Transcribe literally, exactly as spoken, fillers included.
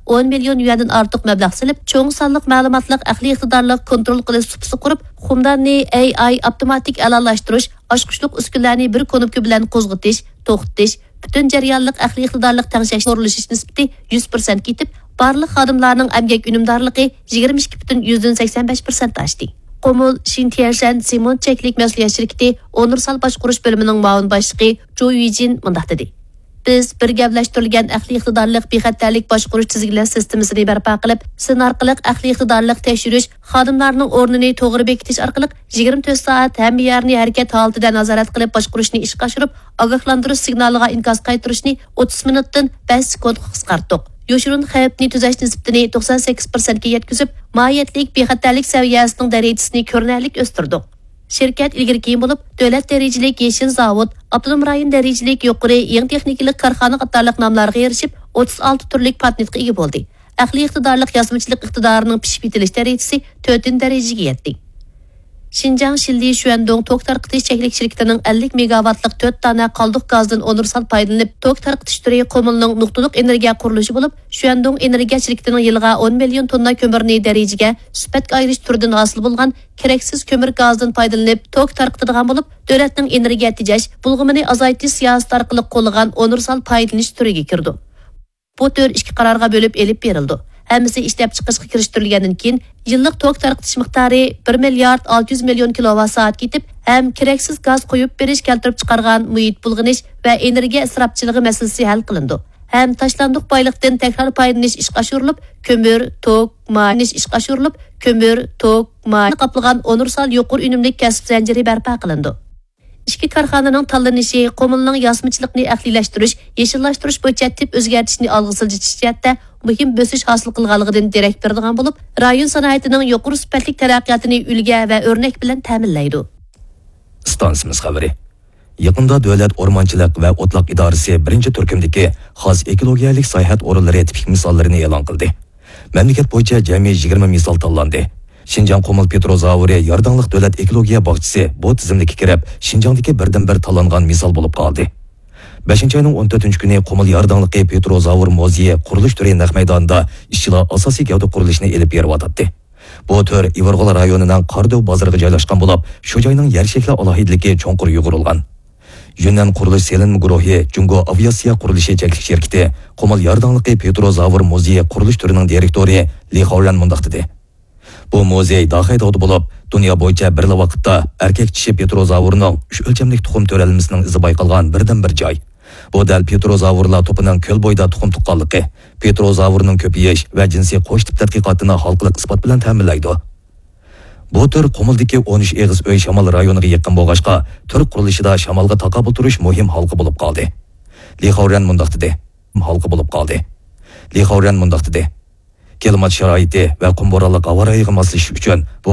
ئون مىليون يۈەندىن ئارتۇق مەبلەغ سېلىپ، چوڭ سانلىق مەلۇماتلىق ئەقلىي ئىقتىدارلىق كونترول قىلىش سۇپىسى قۇرۇپ، خۇمداننى ئېي ئاي ئاپتوماتىك ئەلالاشتۇرۇش، ئاچقۇچلۇق ئۈسكۈنىلەرنى بىر كۇنۇپكا بىلەن قوزغىتىش، توختىتىش، پۈتۈن جەريانلىق ئەقلىي ئىقتىدارلىق تەڭشەش قۇرۇلۇشى نىسبىتى يۈز پىرسەنتكە يېتىپ، بارلىق خادىملارنىڭ ئەمگەك ئۈنۈمدارلىقى يىگىرمە ئىككى پۈتۈن يۈزدىن سەكسەن بەش پىرسەنت ئاشتى. قۇمۇل شىنتيەنشەن سېمونت چەكلىك مەسئۇلىيەت شىركىتى ئۇنىۋېرسال باشقۇرۇش بۆلۈمىنىڭ مۇئاۋىن باشلىقى جۇ يۈجىن مۇنداق دېدى: بىز بىر گەۋدىلەشتۈرۈلگەن ئەقلىي ئىقتىدارلىق بىخەتەرلىك باشقۇرۇش تىزگىنلەش سىستېمىسىنى بەرپا قىلىپ، سىن ئارقىلىق ئەقلىي ئىقتىدارلىق تەكشۈرۈش، خادىملارنىڭ ئورنىنى توغرا بېكىتىش ئارقىلىق يىگىرمە تۆت سائەت ھەممە يەرنى ھەرىكەت ھالىتىدە نازارەت قىلىپ باشقۇرۇشنى ئىشقا ئاشۇرۇپ، ئاگاھلاندۇرۇش سىگنالىغا ئىنكاس قايتۇرۇشنى ئوتتۇز مىنۇتتىن بەش سېكۇنتقا قىسقارتتۇق. يوشۇرۇن خەۋپنى تۈزەش نىسبىتىنى توقسان سەككىز پىرسەنتكە يەتكۈزۈپ، ماھىيەتلىك بىخەتەرلىك سەۋىيەسىنىڭ دەرىجىسىنى كۆرۈنەرلىك ئۆستۈردۇق. شىركەت ئىلگىرى كېيىن بولۇپ، دۆلەت دەرىجىلىك يېشىل زاۋۇت، ئاپتونوم رايون دەرىجىلىك يۇقىرى يېڭى تېخنىكىلىق كارخانا قاتارلىق ناملارغا ئېرىشىپ، ئوتتۇز ئالتە تۈرلۈك پاتېنتقا ئىگە بولدى. ئەقلىي ئىقتىدارلىق ياسىمىچىلىق ئىقتىدارىنىڭ پىشىپ يېتىلىش دەرىجىسى تۆتىنچى دەرىجىگە يەتتى. شىنجاڭ شىنلى شۈەندۇڭ توك تارقىتىش چەكلىك شىركىتىنىڭ ئەللىك مېگاۋاتلىق تۆت دانە قالدۇق گازدىن ئۇنىۋېرسال پايدىلىنىپ توك تارقىتىش تۈرى قۇمۇلنىڭ نۇقتىلىق ئېنېرگىيە قۇرۇلۇشى بولۇپ، شۈەندۇڭ ئېنېرگىيە شىركىتىنىڭ يىلىغا ئون مىليون توننا كۆمۈرنى دەرىجىگە سۈپەتكە ئايرىش تۈرىدىن ھاسىل بولغان كېرەكسىز كۆمۈر گازدىن پايدىلىنىپ توك تارقىتىدىغان بولۇپ، دۆلەتنىڭ ئېنېرگىيە تېجەش، بۇلغىمىنى ئازايتىش سىياسىتى ئارقىلىق قوللىغان ئۇنىۋېرسال پايدىلىنىش تۈرىگە كىرىدۇ. بۇ تۈر ئىككى قارارغا بۆلۈپ ئېلىپ بېرىلىدۇ. ھەممىسى ئىشلەپچىقىرىشقا كىرىشتۈرۈلگەندىن كېيىن، يىللىق توك تارقىتىش مىقدارى بىر مىليارد ئالتە يۈز مىليون كىلوۋات سائەتكە يېتىپ، ھەم كېرەكسىز گاز قويۇپ بېرىش كەلتۈرۈپ چىقارغان مۇھىت بۇلغىنىش ۋە ئېنېرگىيە ئىسراپچىلىقى مەسىلىسى ھەل قىلىنىدۇ. ھەم تاشلاندۇق بايلىقتىن تەكرار پايدىلىنىش ئىشقا ئاشۇرۇلۇپ، كۆمۈر، توك، ماي، ئىشقا ئاشۇرۇلۇپ، كۆمۈر، توك، ماي قاپلىغان ئۇنىۋېرسال يۇقىرى ئۈنۈملۈك كەسىپ زەنجىرى بەرپا قىلىنىدۇ. ئىككى كارخانىنىڭ تاللىنىشى قۇمۇلنىڭ ياسىمىچىلىقنى ئەقلىيلەشتۈرۈش، يېشىللاشتۇرۇش بويىچە تىپ ئۆزگەرتىشنى ئالغا سىلجىتىش جەھەتتە مۇھىم بۆسۈش ھاسىل قىلغانلىقىدىن دېرەك بېرىدىغان بولۇپ، رايون سانائىتىنىڭ يۇقىرى سۈپەتلىك تەرەققىياتىنى ئۈلگە ۋە ئۆرنەك بىلەن تەمىنلەيدۇ. ئىستانسىمىز خەۋىرى. يېقىندا دۆلەت ئورمانچىلىق ۋە ئوتلاق ئىدارىسى بىرىنچى تۈركۈمدىكى خاس ئېكولوگىيەلىك ساياھەت ئورۇنلىرى تىپىك مىساللىرىنى ئېلان قىلدى. مەملىكەت بويىچە جەمئىي يىگىرمە مىسال تاللاندى. شىنجاڭ قۇمۇل پېتروزاۋۇرى يارداڭلىق دۆلەت ئېكولوگىيە باغچىسى بۇ تىزىملىككە كىرىپ، شىنجاڭدىكى بىردىنبىر تاللانغان مىسال بولۇپ قالدى. بەشىنچى ئاينىڭ ئون تۆتىنچى كۈنى قۇمۇل يارداڭلىقى پېتروزاۋۇر مۇزېيى قۇرۇلۇش تۈرى نەق مەيدانىدا ئىشچىلار ئاساسىي گەۋدە قۇرۇلۇشىنى ئېلىپ بېرىۋاتاتتى. بۇ تۈر ئىۋىرغول رايونىنىڭ قاردۆۋ بازىرىغا جايلاشقان بولۇپ، شۇ جاينىڭ يەر شەكلى ئالاھىدىلىكى چوڭقۇر يۇغۇرۇلغان. يۈننەن قۇرۇلۇش سېلىنما گۇرۇھى جۇڭگو ئاۋىئاتسىيە قۇرۇلۇشى چەكلىك شىركىتى قۇمۇل يارداڭلىقى پېتروزاۋۇر مۇزېيى قۇرۇلۇش تۈرىنىڭ دىرېكتورى لى خاۋرەن مۇنداق دېدى: بۇ مۇزېي داخەي تاغدا بولۇپ، دۇنيا بويىچە بىرلا ۋاقىتتا ئەركەك چىشى پېتروزاۋۇرنىڭ ئۈچ ئۆلچەملىك تۇخۇم تۆرەلمىسىنىڭ ئىزى بايقالغان بىردىنبىر جاي. بۇ دەل پېتروزاۋۇرلار توپىنىڭ كۆل بويىدا تۇخۇم تۇغقانلىقى، پېتروزاۋۇرنىڭ كۆپىيىش ۋە جىنسىي قوش تىپ تەتقىقاتىنى ھالقىلىق ئىسپات بىلەن تەمىنلەيدۇ. بۇ تۈر قۇمۇلدىكى ئون ئۈچ ئېغىز ئۆي شامال رايونىغا يېقىن بولغاچقا، تۈر قۇرۇلۇشىدا شامالغا تاقابىل تۇرۇش مۇھىم ھالقا بولۇپ قالدى. لى خاۋرەن مۇنداق دېدى. ھالقا بولۇپ قالدى. لى خاۋرەن مۇنداق دېدى: كىلىمات شارائىتى ۋە قۇم بورانلىق ھاۋا رايىغا ماسلىشىش ئۈچۈن بۇ